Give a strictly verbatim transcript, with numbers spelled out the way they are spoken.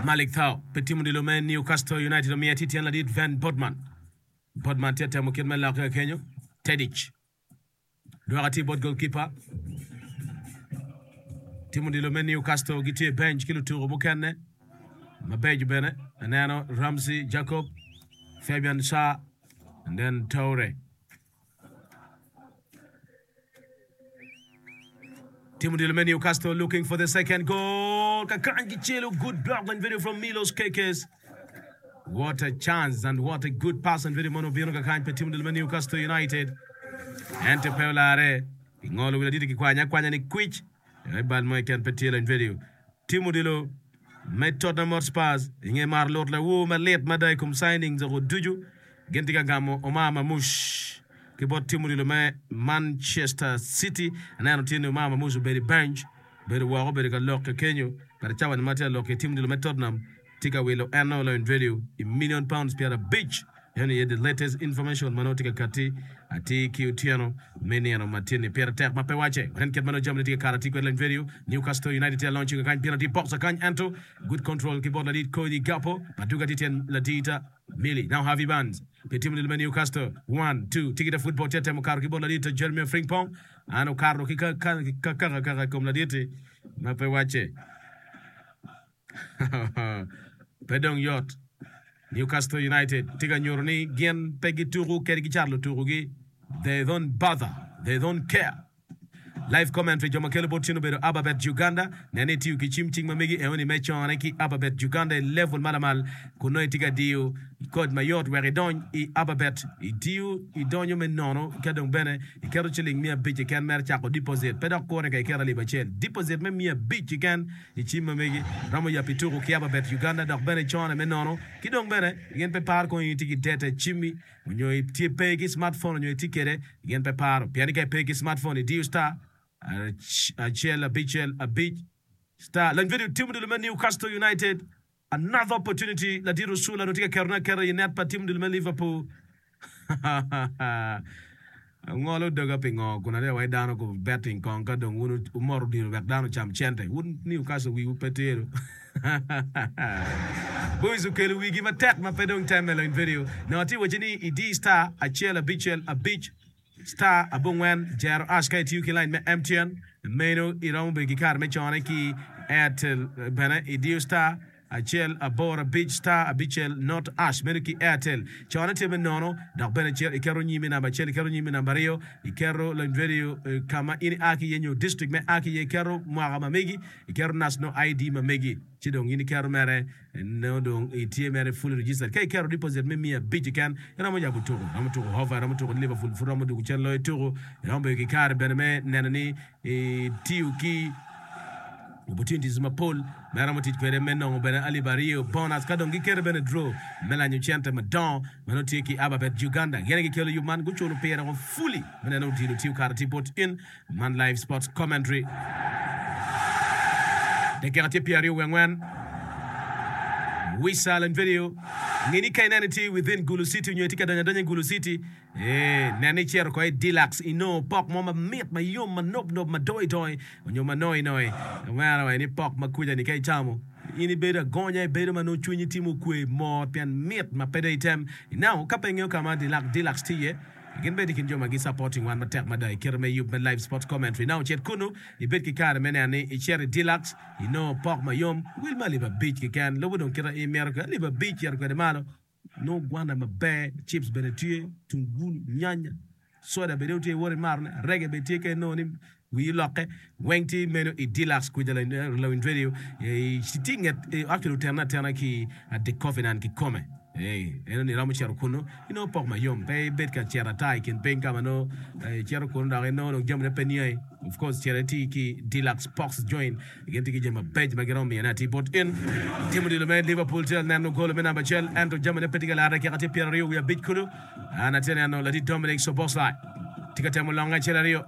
Malik Thao pi tim odilo me Newcastle United omiyo atir tyen ladit Van Botman. Botman tye temo kit me lokke kenyo. Tedic dwoko atir bot goalkeeper. Tim odilo me Newcastle gitye i bench ki lutuku mukene mabeco bene. Aneno Ramsey Jacob, Fabian Schär and then Toure. Tim odilo me Newcastle looking for the second goal. Kakany gicelo good block and video from Milos Kerkez. What a chance and what a good pass and video mono obino kakany pe tim odilo me Newcastle United. Ento pe olare. Gingolo wi laditi kikwanya akwanya ni kwic. I bal mo keken pe tye lany video. Tim odilo me Tottenham Hotspurs i nge maro lut lawor malit mada i kom signings oko ducu. Gin tye ka gamo Omar Marmoush ki bot tim odilo me Manchester City. Aneno tye ni Omar Marmoush obedo i bench, obedo woko, obedo ka lok kenyo. Kare cawa ni ma tye ka lok i tim odilo me Tottenham tye ka wilo en lony radio i million pounds pyerabic. Eno aye the latest information ma nongo tye ka katti atir ki otyeno me nino ma tye ni pire tek ma pe wacce. Nen kit ma nongo jamine tye ka kato atir kwede lony radio. Newcastle United tye ka launching kakany penalty box kakany ento good control ki bot ladit Cody Gakpo. Maduga tye tyen ladit Millie. Now Harvey Barnes pi tim odilo me Newcastle. One, two, Tigita football tye ka temo kato ki bot ladit Jeremy Frimpong. An okato ki kakaka kaka i kom ladit-ti ma pe wacce. Pe dong yot. Newcastle United tye ka nyuto ni gin pe gituko kadi gicato lutukogi. They don't bother. They don't care. Live commentary jo ma kelo bot tin obedo Ababet Uganda. Nen ni itiyo ki cim cing ma megi eoni me cone ki Ababet Uganda i level ma lamal kun nongo itye ka diyo kod mayot wek idony i Ababet. Itiyo idonyo me nono ka dong bene iketo ciling miya abic keken mere cako deposit. Pe dok kure ka iketo alip acel. Deposit me miya abic keken i cim ma megi romo yabi tuko ki Ababet Uganda dok bene icone me nono ki dong bene gin pe paro kong in itye ki data i cimmi onyo itye pe ki smartphone onyo itye kwede gin pe paro pien ni ka ipe ki smartphone idiyo star acel abicel abic star lany video tim odilo me Newcastle United another opportunity ladit Osula nongo tye ka ketone aketa i net pa tim odilo me Liverpool Angolo doga pingo kun aryemo wai dano ku betting kong ka dong wun wumoto odilo wek dano ocam cente wun Newcastle wiwu pe tye Boys okelo wigi matek ma pe dong temme lony video nongo atye wacci ni idi star acel abicel abic star abongwen jero ash ka itiyo ki line me M T N meno iromo bedo ki kare me cone ki Airtel bene idiyo star acel aboro abic star abicel not ash meno ki Airtel cone tye me nono dok bene cito iketo nyimi namba acel iketo nyimi namba aryo iketo lony radio ka ma in ia ki iye nyo district me ia ki iye iketo mwaka ma megi iketo national I D ma megi ci dong in iketo mere nongo dong itye mere fully registered ka iketo deposit me miya abic keken iromo yabo tuko iromo tuko Hova iromo tuko Liverpool pud romo dwogo cen loyo tuko iromo bedo ki kare bene me neno ni itiyo ki opportunities mapol ma iromo tic kwede me nongo bene alip aryo bonus ka dong giketo bene draw me lanyo cente madongo ma nongo tye ki Ababet Uganda gin aye gikelo yub man guculo pire woko fully me neno odilo tiyo kare tye bot in man live sports commentary dakika tye pyeraryo wiye angwen Wisa lany video nge ni ka ineno itye within Gulu City nyo itye ka donyo adonya i Gulu City Ee, nen ni icito oko i Deluxe inongo pok mo mamit, mayom, manopnop, madoidoi, onyo manoinoi. Omera wa ni pok ma kuca-ni ka icamo, in ibedo agonya, ibedo ma nongo cwinyi tye mukwe mot pien mit ma pe dong item. Now, ka pe ingeyo ka ma Deluxe tye iye, gin bene tye i kin jo ma gi-supporting wan matek mada i kite me yub me live sports commentary. Now, cit kunu, ibed ki kare me neno ni icito i Deluxe, inongo pok mayom, wel me alip abic keken. Lubo dong kite imito kwede, alip abic cito kwede malo. Nongo gwana maber, chips bene tye, tungulu, nyanya, soda bene tye iwoto imatone, arege bene tye ka inongo ni wii olokke, weng tye meno i Deluxe kwija lawiny radio tye i nget actually otene atena ki The Covenant kikome. Eno ni iromo cito kunu inongo pok mayom pe ibed ka cito ata i kin piny ka ma nongo icito kunu dok inongo dong jamine pe niangi. Of course cito iti ki Deluxe Pox Joint. Gin tye ki jami mabeco ma giromo miyone atir bot in. Tim odilo me Liverpool tye ka neno golo me namba acel ento jamine pe tye ka larre kika tye pyeraryo wiye abic kulu. An atye ka neno ladit Dominic Szoboszlai tye ka temo longe acel aryo.